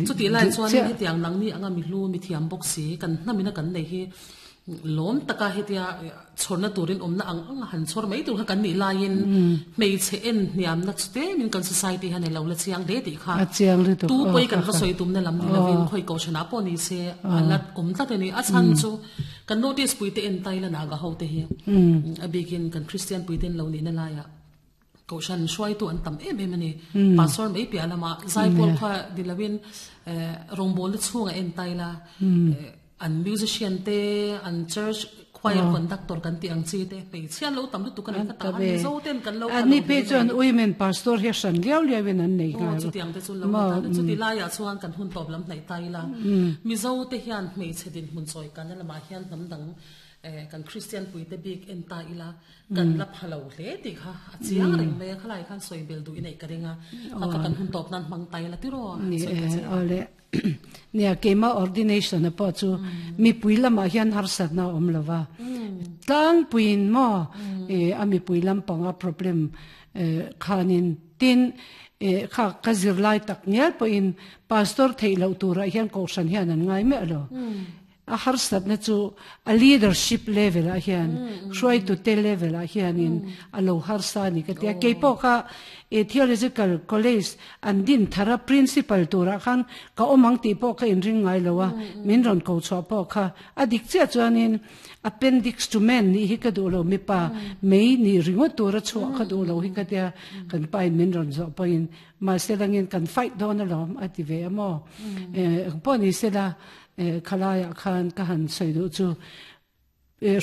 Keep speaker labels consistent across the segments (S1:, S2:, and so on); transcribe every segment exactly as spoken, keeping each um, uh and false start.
S1: Chu ti lai chuan hetiang nang ni anga mi hlu mi thiam bawk si kan hnamina kan nei hi lawm taka hetia chhawrna turin awmna ang ang han chhawr mai tur kha kan nih laiin hmeichhe en hniamna chute min kan society han elo la chiang hle tih kha
S2: a chiang lutuk
S1: tu pawh kan va sawi tumna lam ni lovin khawi kohhranah pawh ni se a la awm tlat a ni. A chhan chu kan notice pui te en tai la naga ho te hi a bikin kan Christian pui ten lo ni na laiah kohhran hruaitu an tam em em a ni. Pastor mai piah lama zaipawl kha ni lovin rawngbawlna chhunga en tai la an musician te an church choir conductor kan ti ang chi te hmeichhia an lo tam lutuk a ni kha ta a ni zo ten kan lo
S2: an ni phe chuan women pastor hi hran liau liau in an nei
S1: ngai chutiang te chu lo ta chuti laiah chuan kan hun tawp lam hnaih tai la mizo te hian hmeichhe din hmun chawi kan lamah hian hnam dang kan Christian pui te bik en ta ila kan la phalo hle ti kha a chiang reng mai a khalai khan sawi bel du inei ka ringa kha kan hun tawp nan hmang tai la tiro
S2: ni ole nia kema ordination a pa chu mi pui lama hian har sat na om lova tlang puin mo e ami pui lam panga problem khanin tin kha ka zir lai tak ngel po in pastor theilo tura hian ko shan hian an ngai me lo a har sat na chu a leadership level a hian hruai tu te level a hian in a lo har sa ni ka tia ke po kha e theological college an din thara principal tura khan ka omang ti po ka in ring ngai lowa min ron ko chwa po kha adik che chuanin appendix to men ni hi ka du lo mi pa mei ni ringo tura chwa ka du lo hi ka tia kan pai min ron zo po in ma selangin kan fight don alom ati ve amo e po ni sela khalaya khan ka han sei du chu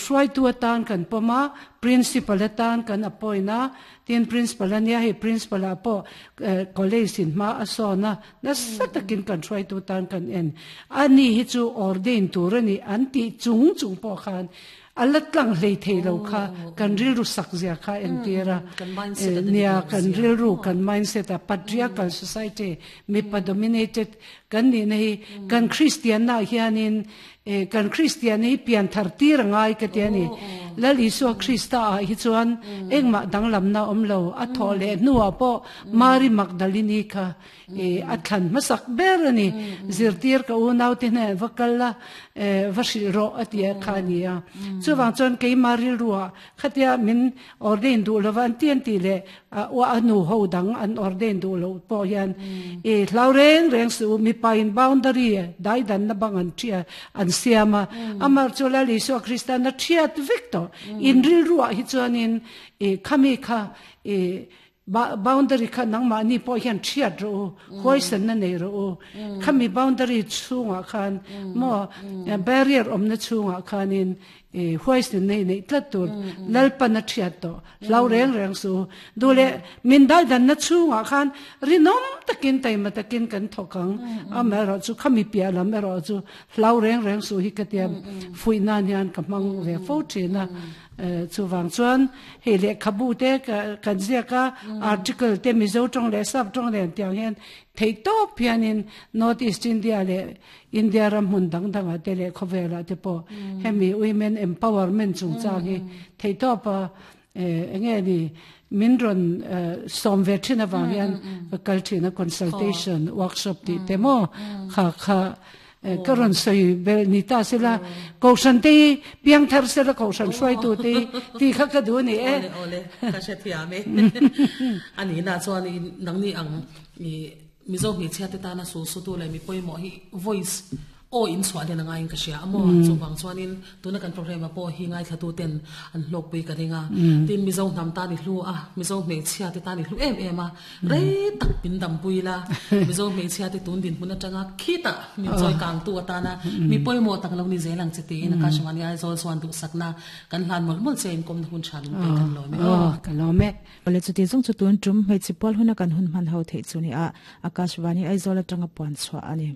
S2: hruai tu atan kan poma principal atan kan apoina tin principal ania he principal apo college in ma asona na satakin kan hruai tu tan kan en ani hi chu ordain turani anti chung chung po khan alatlang hlei theilo kha kan rilru sak zia kha en tira nia kan rilru kan mindset a patriarchal society mi pa dominated kan ni nei kan Christian na hianin kan Christian hi pian thar tir ngai ka ti ani lal Isua Krista a hi chuan engma danglam na omlo a tho le nuwa po Mary Magdalene kha a thlan masak ber ani zirtir ka u nau te ne vakalla va ro atia khania chuwang chuan ke maril ruwa khatia min ordain du lowan tian ti le wa anu ho dang an ordain du lo po hian e hlaureng reng su mi pain boundary dai dan na bang an thia an siama amar chola Isua Krista na thiat victor in ril ruwa hi chuanin e khami kha e boundary kha nang ma ni po hian thiat ro hoi san na nei ro khami boundary chunga khan mo barrier om na chunga khanin e hoi san nei nei tlat tur lalpan na thiat to lau reng reng su dule min dal dan na chunga khan rinom takin tai ma takin kan thokang a ro chu khami pia lam ro chu lau reng reng su hi katiam fui nan hian ka mang ve fo thina chu wang chuan hei le khabu te kan zia ka article te mizo tong le sap tong le tiang hian thei to pianin North East India le India ram hun dang dang a te le khowela te po hemi women empowerment chung chang hi thei to pa enge ni min ron som ve thina wang hian kal thina consultation workshop ti te mo kha kha karon soi bel ni ta sela ko shan te piang thar sela ko shan soi tu te ti kha ka du ni e
S1: ole ole ka she thia me ani na chuan ni nang ni ang mi mizo mi chhia te ta na su su tu le mi poi mo hi voice o in chwa den ngai ka sia amo chu wang chuanin tuna kan program a po hi ngai thatu ten an hlok pui ka ringa tin mizo nam ta ni hlu a mizo me chhia te ta ni hlu em em a re tak pin dam pui la mizo me chhia te tun din hmun atanga khita min choi kang tu atana mi poimo tak lo ni zelang cheti na ka shmani ai zol chuan du sakna kan hlan mol mol chen kom hun chan pe kan lo me
S2: o ka lo me
S3: ole chu ti jong chu tun tum hmei chi pol huna kan hun man ho thei chu ni a Akashvani Aizawl atanga puan chua ani.